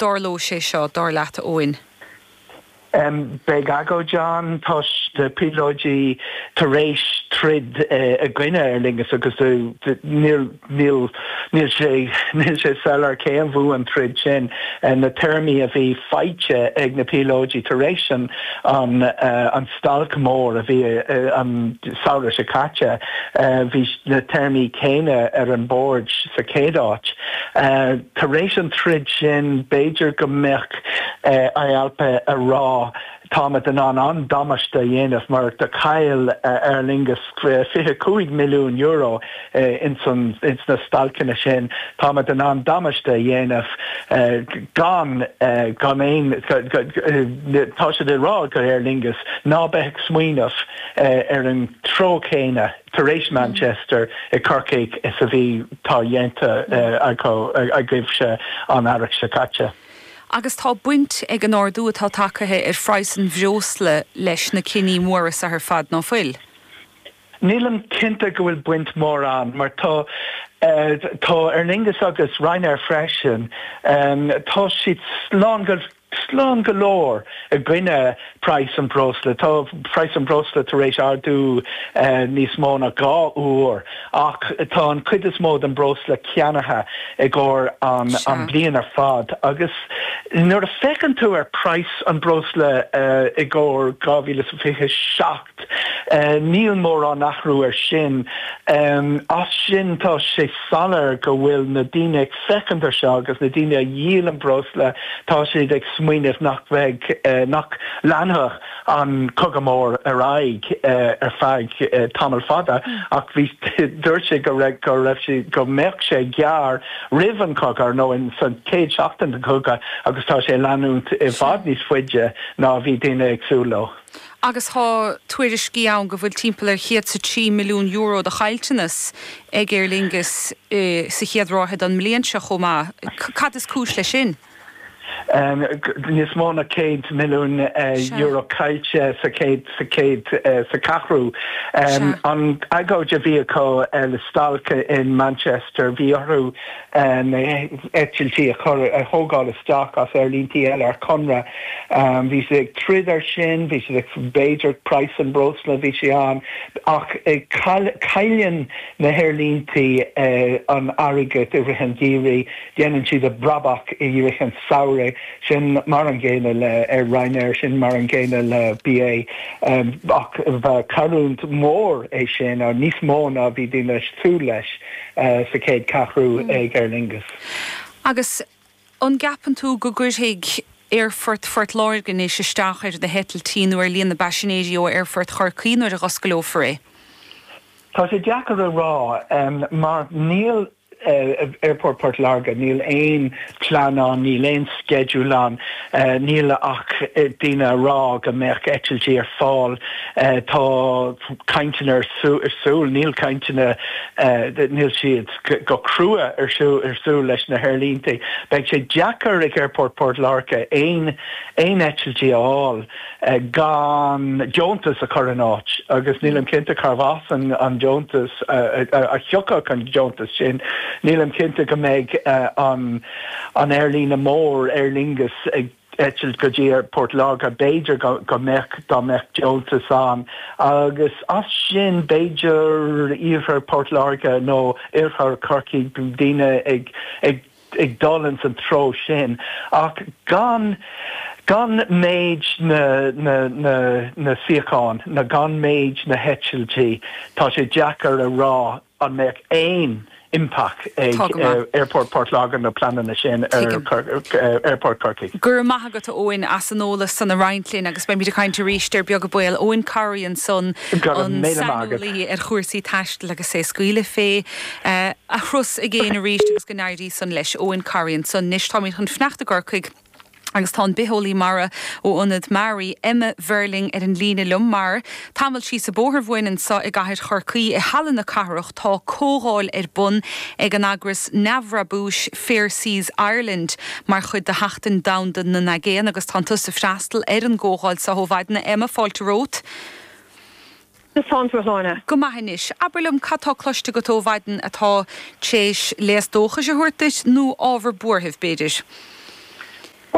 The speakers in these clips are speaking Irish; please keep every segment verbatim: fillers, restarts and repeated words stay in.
dtarlóidh sé seo, dar leat, a Eoin? Beidh agóid ann, tá na píolóidí tar éis troid i gcoinne Aer Lingus agus níl níl níl sé níl sé soiléir cé a bhuaigh an troid sin. Na téarmaí a bhí faighte ag na píolóidí tar éis an an an stailc mór a bhí an samhradh seo caite, bhí na téarmaí céanna ar an bord sa chéad áit. Tar éis an troid sin b'fhéidir go mbeadh IALPA a rá táimid in ann an damáiste a dhéanamh mar do chaill Aer Lingus fiche cúig milliún euro ins an ins na stailceanna sin. Táimid in ann damáiste a dhéanamh gan gan aon tá siad ag rá go Aer Lingus ná beith ag smaoineamh ar an treo céanna tar éis Manchester i Corcaigh is a bhí tá dhéanta acu agaibhse an earrach seo caite. Agus tá baint ag an ardú atá tagtha ar phraghas an bhreosla leis na cinní móra seo ar fad, ná fuil? Nílim cinnte go bhfuil baint mór ann mar tá tá Aer Lingus agus Ryanair freisin, tá siad slán go slán go leor i gcoinne praghas an breosla. Tá praghas an breosla tar éis ardú níos mó ná dhá uair ach tá an cuid is mó den breosla ceannaithe i gcomhair an an bliain ar fad agus nuair a féachann tú ar praghas an breosla i gcomhair dhá mhíle is fiche seacht níl mórán athrú ar sin. As sin tá sé soiléir go bhfuil na daoine ag féachaint ar seo agus na daoine a dhíolann breosla tá siad ag smaoineamh nach bheidh nach leanfadh an cogadh mór ar aghaidh ar feadh tamall fada ach bhí dúirt sé go raibh go raibh sé go mbeadh sé gearr roimh an cogadh nó in san chéad seachtain den chogadh agus tá sé leanúint i bhfad níos faide ná bhí daoine ag súil leo. Agus tá tuairiscí ann go bhfuil timpeall ar chéad is a trí milliún euro de chaillteanas ag Aer Lingus sa chéad ráithe den mbliain seo chomh maith. Cad is cúis leis sin? Níos mó ná céad milliún euro caillte sa chéad sa chéad sa ceathrú. An agóid a bhí acu le stailc in Manchester bhí orthu na heitiltí a chur a thógáil isteach as aerlíntí eile ar conradh. Bhí siad ag troid ar sin, bhí siad ag b'fhéidir praghas an breosla bhí sé ann ach cailleann na haerlíntí an airgead i rith an gheimhridh, déanann siad a brabach i rith an samhraidh, sin mar an gcéanna le ar Ryanair, sin mar an gcéanna le BA ach ba cailliúint mór é sin níos mó ná bhí daoine súil leis sa chéad ceathrú ag Aer Lingus. Agus an gceapann tú go gcuirfidh Aerfort Phort Láirge anois isteach ar na heitiltí nó ar líon na bpaisinéirí ó Aerfort Chorcaí nuair a dh'osclófar é? Tá sé deacair a rá mar níl Aerfort Port Láirge, níl aon plean ann, níl aon schedule ann, níl ach daoine a rá go mbeadh eitiltí ar fáil. Tá cainteanna ar siúl, níl cainteanna, níl siad go crua ar siúl leis na haerlíntí. Beidh sé deacair ag Aerfort Port Láirge aon aon eitiltí a fháil gan deontas a chur in áit agus nílim cinnte cárbh as an deontas a thiocfadh an deontas sin. Nílim cinnte go mbeidh an an aerlíne mór Aer Lingus ag eitilt go dtí Port Láirge, b'fhéidir go mbeadh dá mbeadh deontas ann agus as sin b'fhéidir iarthar Port Láirge nó oirthear Chorcaí daoine ag ag ag dul ins an treo sin ach gan gan méid na na na na suíochán na gan méid na heitiltí tá sé deacair a rá an mbeadh aon impact ag Aerfort Port Láirge na pleananna sin ar Aerfort Chorcaí. Go raibh maith agat a Eoin as an eolas san a roinnt linn agus beimid ag caint arís ar beag an ball. Eoin Corry ansan an saineolaí ar chúrsaí taistil agus é ag scaoileadh fé a thuras i gcéin arís agus go n-éirí san leis. Eoin Corry ansan. Anois táimid chun fanacht i gCorcaigh agus tá an bitheolaí mara ó Ionad MARI, Emma Verling ar an líne liom mar, tamall síos an bóthar uainn anseo i gcathair Chorcaí i Halla na Cathrach tá comhdháil ar bun ag an eagras neamhbhrabúis Fair Seas Ireland mar chuid de Sheachtain Domhanda na nAigéan agus tá tusa ag freastal ar an gcomhdháil seo ó mhaidin. Emma, fáilte romhat. Conas tánn tú a Shláine? Go maith anois. Abair liom cad tá cloiste agat ó mhaidin atá tar éis léas dóchais a thabhairt duit nó ábhar buartha, b'fhéidir?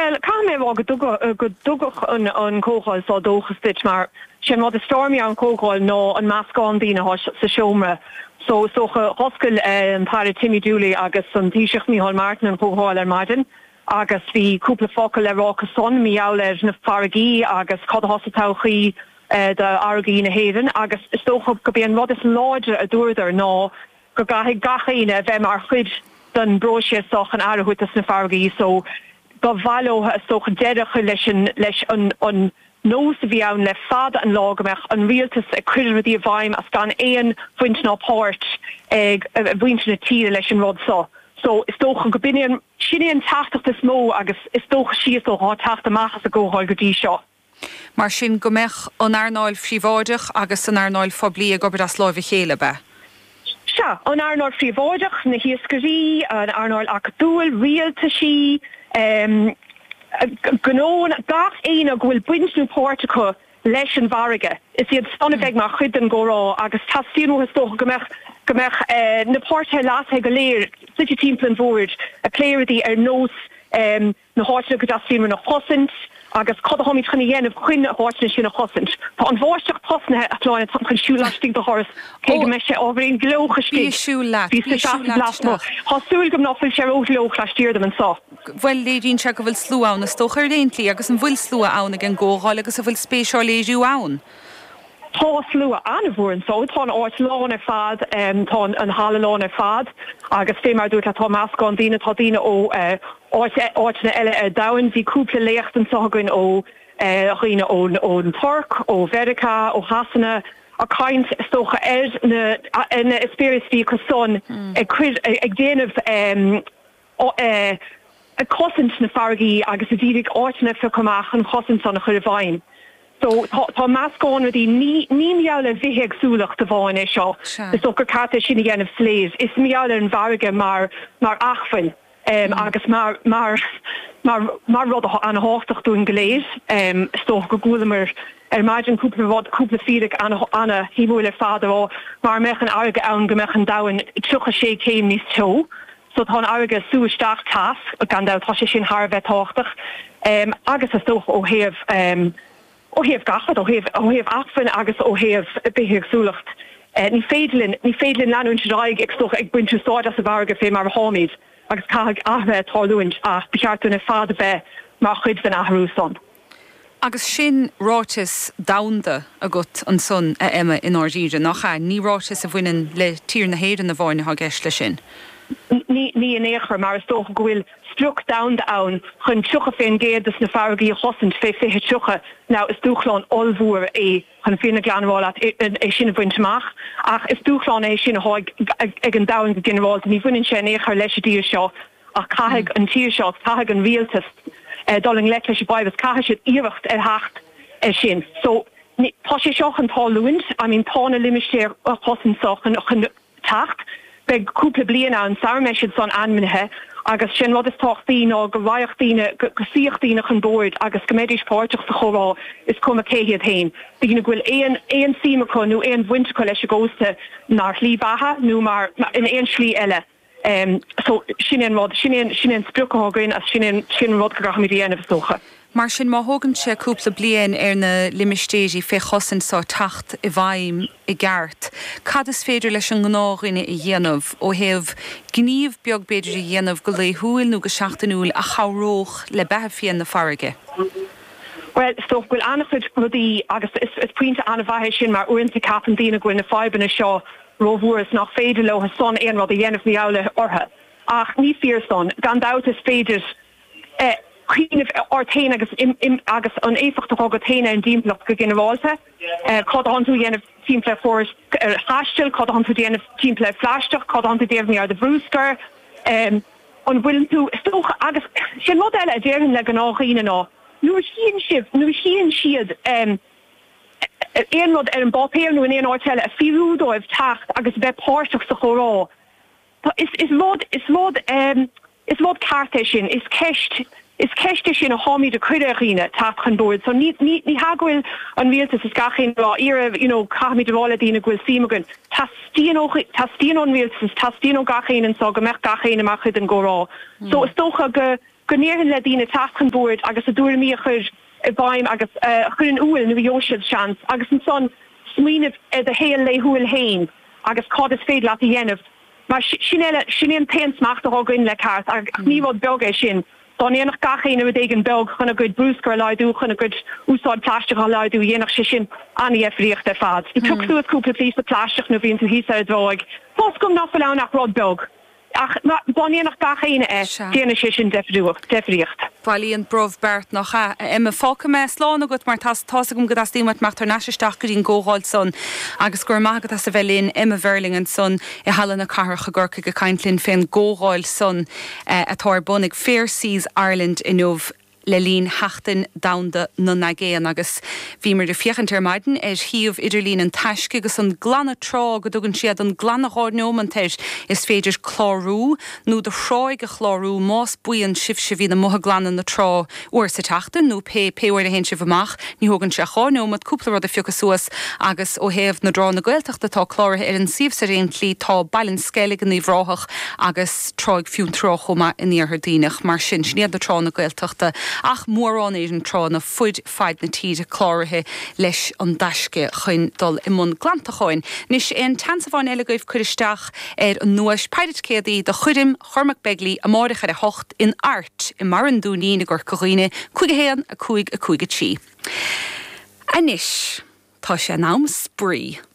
Well, caithfidh mé a rá go dtugadh go dtugadh an an comhdháil seo dóchas duit mar sin rud is fearr an comhdháil ná an meascán daoine atá sa seomra. So so d'oscail an tAire Timmy Dooley agus an Taoiseach Micheál Martin an comhdháil ar maidin agus bhí cúpla focal le rá acu san mar gheall ar na farraigí agus cad atá sa todhchaí d'fharraigí na hÉireann agus is dócha go b'é an rud is láidre a dúradar ná go gcaithfidh gach éinne a bheith mar chuid den bpróiseas seo chun aire a thabhairt dos na farraigí so ba mhaith leo is dócha deireadh a chur leis an leis an an nós a bhí ann le fada an lá go mbeadh an rialtas ag cur rudaí i bhfeidhm as gan aon bhaint ná páirt ag mhuintir na tíre leis an rud seo. So is dócha go b'in é an sin é an teachtaireacht is mó agus is dócha síos ó thá teacht amach as an gcomhdháil go dtí seo. Mar sin go mbeadh an earnáil phríobháideach agus an earnáil phoiblí ag obair as láimh a chéile, ab ea? Sea, an earnáil phríobháideach, na hiascairí, an earnáil acadúil, rialtaisí, gnóanna, gach éinne go bhfuil baint nó páirt acu leis an bhfarraige, is iad san a bheidh mar chuid den gcomhrá agus teastaíonn uathu is dócha go mbeadh go mbeadh na páirtithe leasmhara go léir suite timpeall an bhoird ag plé rudaí ar nós na háiteanna go dteastaíonn uainn a chosaint agus cad atáimid chun a dhéanamh chun na háiteanna sin a chosaint. Tá an bháisteach tosnaithe, a Shláine, táim chun siúl laistigh de dhoras cé go mbeidh sé ábhairín gleoch Bí istigh. ag siúl leat, Bhí bí ag sa siúl leat lasmuigh. isteach. Tá súil agam ná fuil sé rófhliuch laistiar dom anseo. Bhuel, léiríonn sé go bhfuil slua ann is dócha ar aon tslí agus an bhfuil slua ann ag an gcomhdháil agus an bhfuil spéis á léiriú ann? Tá slua an-mhór anseo, tá an áit lán ar fad, tá an halla lán ar fad agus fé mar a dúirt leat tá meascán daoine, tá daoine ó áiteanna eile ar domhan. Bhí cúpla léacht anseo againn ó dhaoine ón ón Tuirc, ó Mheiriceá, ó Shasana ag caint is dócha ar na ar na eispéiris a bhí acu san ag cuir ag déanamh ag cosaint na farraigí agus ag iarraidh áiteanna a phiocadh amach chun chosaint san a chur i bhfeidhm. So tá tá meascán rudaí ní ní mar gheall ar bhithéagsúlacht amháin é seo. Is dócha gur ceart é sin a dhéanamh soiléir. Is mar gheall ar an bhfarraige mar mar acmhainn um, agus mar mar mar mar rud atá an-tábhachtach dúinn go léir. Um, is dócha go gcualamar ar maidin cúpla rud cúpla fíric an-shuimiúil ar fad ó mura mbeadh an fharraige ann go mbeadh an domhan tríocha sé céim níos teo. So tá an fharraige ag sú isteach teas gan dabht tá sé sin thar a bheith tábhachtach. Um, agus is dócha ó thaobh um, ó thaobh gach rud ó thaobh ó thaobh acmhainn agus ó thaobh bithéagsúlacht. Uh, ní féidir linn ní féidir linn leanúint ar aghaidh ag stoch ag baint úsáid as an bhfarraige fé mar atáimid agus caithfidh athruithe tarlúint ach ba cheart dúinn ar fad a bheith mar chuid den athrú san. Agus sin ráiteas domhanda agat ansan a Emma i ndáiríre nach ea ní ráiteas a bhaineann le tír na hÉireann amháin atá i gceist leis sin. Ní ní in aon chor mar is dócha go bhfuil sprioc domhanda ann chun tríocha faoin gcéad des na farraigí a chosaint fé fiche tríocha now is dúshlán ollmhór é chun fírinne ghlan a rá leat é sin a bhaint amach ach is dúshlán é sin atá ag an domhan go ginearálta ní bhaineann sé in aon chor leis an dtír seo ach caithfidh an tír seo caithfidh an rialtas dul i ngleic leis an bhfadhb is caithfidh siad iarracht ar theacht ar sin. So tá sé seo chun tarlúint, I mean tá na limistéir chosaint seo chun chun teacht, beidh cúpla bliain ann sara mbeidh siad san ainmnithe agus sin rud is tábhachtaí ná go raghadh daoine go suífeadh daoine chun boird agus go mbeidís páirteach sa chomhrá is cuma cé hiad féin. Daoine go bhfuil aon aon suim acu nó aon bhaint acu leis an gcósta mar shlí bheatha nó mar in aon slí eile. Um, so sin an rud sin an sin an sprioc atá againn as sin an sin an rud go gcaithfimid a dhéanamh is dócha. Mar sin má thógann sé cúpla bliain ar na limistéirí fé chosaint seo teacht i bhfeidhm i gceart. Cad is féidir leis an ngnáthdhuine a dhéanamh ó thaobh gníomh beag b'fhéidir a dhéanamh go laethúil nó go seachtainiúil a chabhródh le beatha fiáin na farraige. Well, is dócha go bhfuil an-chuid rudaí agus is, is pointe an-mhaith é sin mar uaireanta ceapann daoine go bhfuil na fadhbanna seo rómhór is nach féidir leo san aon rud a dhéanamh mar gheall orthu. Ach ní fíor san gan dabht is féidir eh, cuimhneamh ort féin agus im, im, agus an éifeacht atá agat féin ar an dtimpeallacht go ginearálta. Eh, cad atánn tú a dhéanamh timpeall ar chórais ar thaistil, cad atánn tú a dhéanamh timpeall ar phlaisteach, cad atánn tú a dhéanamh ar do bhruscar, um, an bhfuil tú is dócha agus sin rud eile a déarfainn le gnáthdhaoine ná nuair a chíonn sibh nuair a chíonn siad um, aon rud ar an bpáipéar nó in aon áit eile a fiafraí dóibh teacht agus bheith páirteach sa chomhrá. Tá is is rud is rud um, is rud ceart é sin is ceist is ceist é sin a tháimid ag cur ar dhaoine teacht chun boird. So ní ní ní hea go bhfuil an rialtas is gach aon rá iarraidh you know, caithfimid a rá le daoine go bhfuil suim againn. Teastaíonn ó teastaíonn ón rialtas teastaíonn ó gach aon anseo go mbeadh gach aon mar chuid den gcomhrá. So is dócha go go ndéarfainn le daoine teacht chun boird agus a dtuairimí a chur i bhfeidhm agus a chur in iúl nuair a gheobhaidh siad seans agus ansan smaoineamh ar do shaol laethúil féin agus cad is féidir leat a dhéanamh mar sin eile, sin é an t-aon smacht atá againn le ceart ach ní rud beag é sin. Dá ndéanfadh gach éinne rud éigin beag chun a gcuid bruscair a laghdú, chun a gcuid úsáid plaisteach a laghdú, dhéanfadh sé sin an-dheifríocht ar fad. Pioc suas cúpla píosa plaisteach nuair a bhíonn tú thíos ar an dtráigh. Tá's agam nach bhfuil ann ach rud beag. Ach dá ndéanfadh gach éinne é, déanfaidh sé sin deifríocht. Bailíonn brobh beart, nach ea? A Emma, fágfaidh mé slán agat mar tá's agam go dteastaíonn uait imeacht thar n-ais isteach go dtí an gcomhdháil san agus go raibh maith agat as a bheith linn. Emma Verling ansan i Halla na Cathrach i gCorcaigh ag caint linn fén gcomhdháil san atá ar bun ag Fair Seas Ireland inniu. le linn Sheachtain Domhanda na nAigéan agus bhíomar ag féachaint ar maidin ar shuíomh idirlín an Taisce agus an glanadh trá go dtugann siad an glanadh dhá neomant air. Is féidir clárú nó do thráigh a chlárú más buíon sibhse a bhíonn amuigh ag glanadh na trá uair sa tseachtain nó pé pé uair a théann sibh amach. Ní thógann sé ach dhá neomat cúpla rud a phiocadh suas agus ó thaobh na dtránna Gaeltachta atá cláraithe ar an suíomh ar aon tslí tá Baile an Sceilg in Uíbh Ráthach agus Tráigh Fionntrá chomh maith in Iarthar Duibhneach. Mar sin, sin iad na tránna Gaeltachta ach mórán ar na tránna fud fad na tíre cláraithe leis an dTaisce chun dul i mbun glantacháin. Anois aon tseans amháin eile agaibh cur isteach ar an nduais Péire ticéadaí do choirm Chormac Begley amáireach ar a hocht in Art i mBarra an Dúinín i gCorca Dhuibhne, cúig a haon, a cúig, a cúig a trí. Anois, tá sé in am spraoi.